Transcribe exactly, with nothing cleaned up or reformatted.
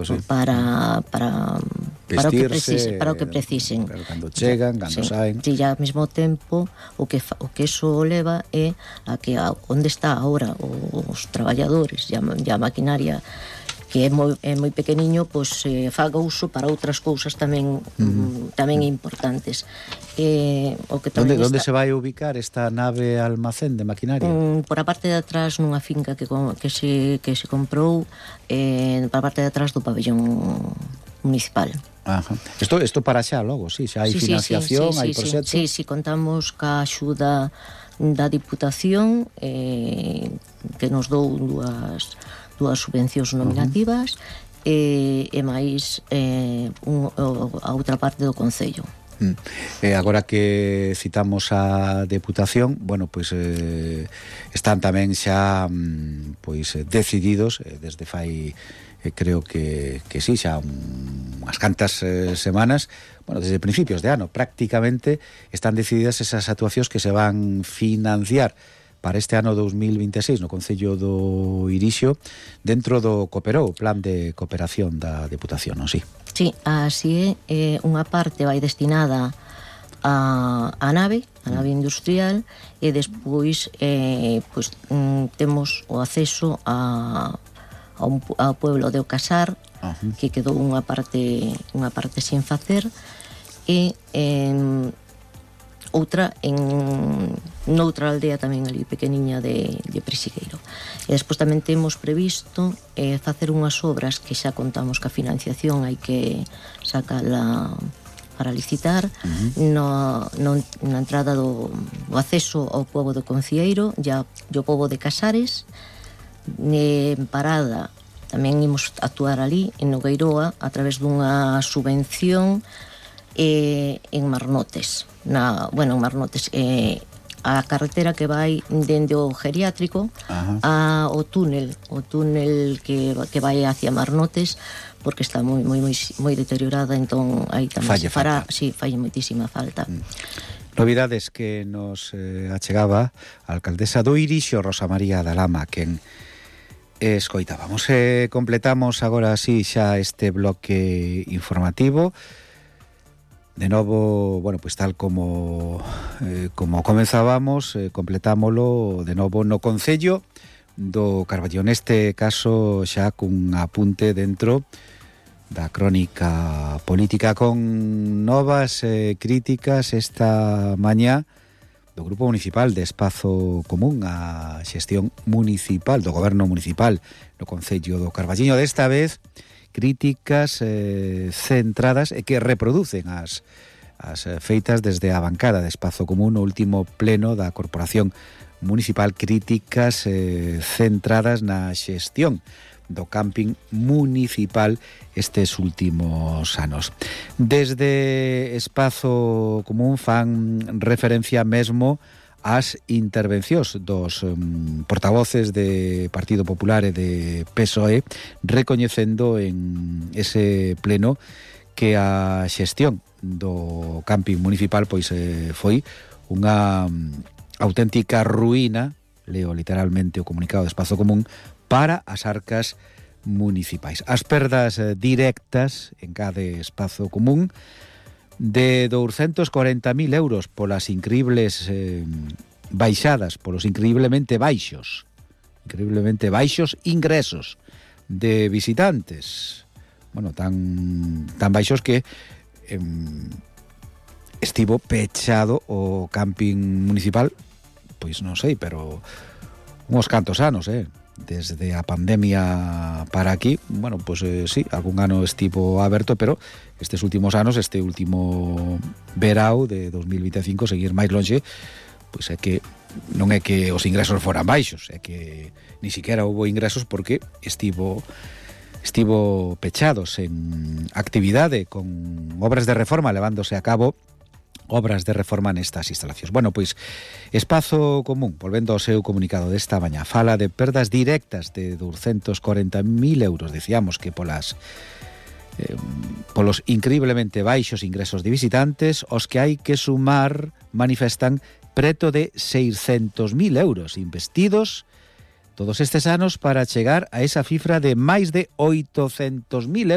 sí. para para para o que precisen, para o que precisen. Pero cando chegan, cando sí, saen. Si ya ao mesmo tempo o que fa, o que eso leva é a que a, onde está agora os traballadores e a, a maquinaria que é moi, é moi pequeniño, pois eh, faga uso para outras cousas tamén mm. tamén importantes. Eh, o que Onde, está... onde se vai ubicar esta nave almacén de maquinaria? Um, por a parte de atrás nunha finca que, que, se, que se comprou eh, por a parte de atrás do pabellón municipal. Ajá. Isto, isto para xa logo, sí, xa hai sí, financiación, sí, sí, hai sí, proxectos. Sí, sí, contamos ca axuda da Diputación eh, que nos dou dúas dúas subvencións nominativas uh-huh. e, e máis eh, un, a outra parte do Concello. Mm. Eh, agora que citamos a Deputación, bueno, pois eh, están tamén xa mm, pois decididos eh, desde fai eh, creo que, que sí, xa unhas cantas eh, semanas, bueno, desde principios de ano prácticamente están decididas esas actuacións que se van financiar para este ano dos mil veintiséis no Concello do Irixo dentro do Cooperou, Plan de Cooperación da Deputación, non si? Sí, así é, eh, unha parte vai destinada a, a nave, a nave industrial, e despois eh, pues, mm, temos o acceso a, a un, ao pueblo de Ocasar, uh-huh. que quedou unha parte unha parte sin facer, e eh, outra en noutra aldea tamén ali pequeniña de, de Presigueiro. E despois tamén temos previsto eh, facer unhas obras que xa contamos que a financiación hai que sacala para licitar uh-huh. no, no, na entrada do, do acceso ao pobo do Concieiro e ao pobo de Casares. En Parada tamén imos actuar ali en Nogueiroa a través dunha subvención eh, en Marnotes na, bueno, en Marnotes eh, a carretera que vai dende o geriátrico a, o túnel o túnel que, que vai hacia Marnotes, porque está moi moi moi, moi deteriorada, entón aí tamén falle fará, falta. sí, fai moitísima falta. Mm. Novidades que nos eh, achegaba a alcaldesa do Irixo, Rosa María da Lama, quen escoitábamos. Eh, completamos agora así xa este bloque informativo. De novo, bueno, pues tal como eh, como comenzábamos, eh, completámolo de novo no Concello do Carballo. Neste caso xa cun apunte dentro da crónica política con novas eh, críticas esta mañá do Grupo Municipal de Espazo Común a xestión municipal do Goberno Municipal no Concello do Carballiño. Desta vez críticas eh, centradas e que reproducen as, as feitas desde a bancada de Espazo Común no último pleno da Corporación Municipal, críticas eh, centradas na xestión do camping municipal estes últimos anos. Desde Espazo Común fan referencia mesmo ás intervencións dos um, portavoces de Partido Popular e de P S O E, recoñecendo en ese pleno que a xestión do camping municipal pois eh, foi unha um, auténtica ruína, leo literalmente o comunicado de Espazo Común, para as arcas municipais. As perdas eh, directas en cada Espazo Común de douscentos corenta mil euros polas increíbles eh, baixadas, polos increíblemente baixos, increíblemente baixos ingresos de visitantes. Bueno, tan tan baixos que eh, estivo pechado o camping municipal, pois non sei, pero uns cantos anos, eh? Desde a pandemia para aquí, bueno, pois pues, eh, sí, algún ano estivo aberto, pero estes últimos anos, este último verao de dos mil vinte e cinco, seguir máis longe, pois é que non é que os ingresos foran baixos, é que ni siquiera houbo ingresos porque estivo estivo pechado sen actividade, con obras de reforma levándose a cabo, obras de reforma nestas instalacións. Bueno, pois, Espazo Común, volvendo ao seu comunicado desta mañá, fala de perdas directas de douscentos corenta mil euros, decíamos que polas eh, polos increíblemente baixos ingresos de visitantes, os que hai que sumar manifestan preto de seiscentos mil euros investidos todos estes anos para chegar a esa cifra de máis de oitocentos mil euros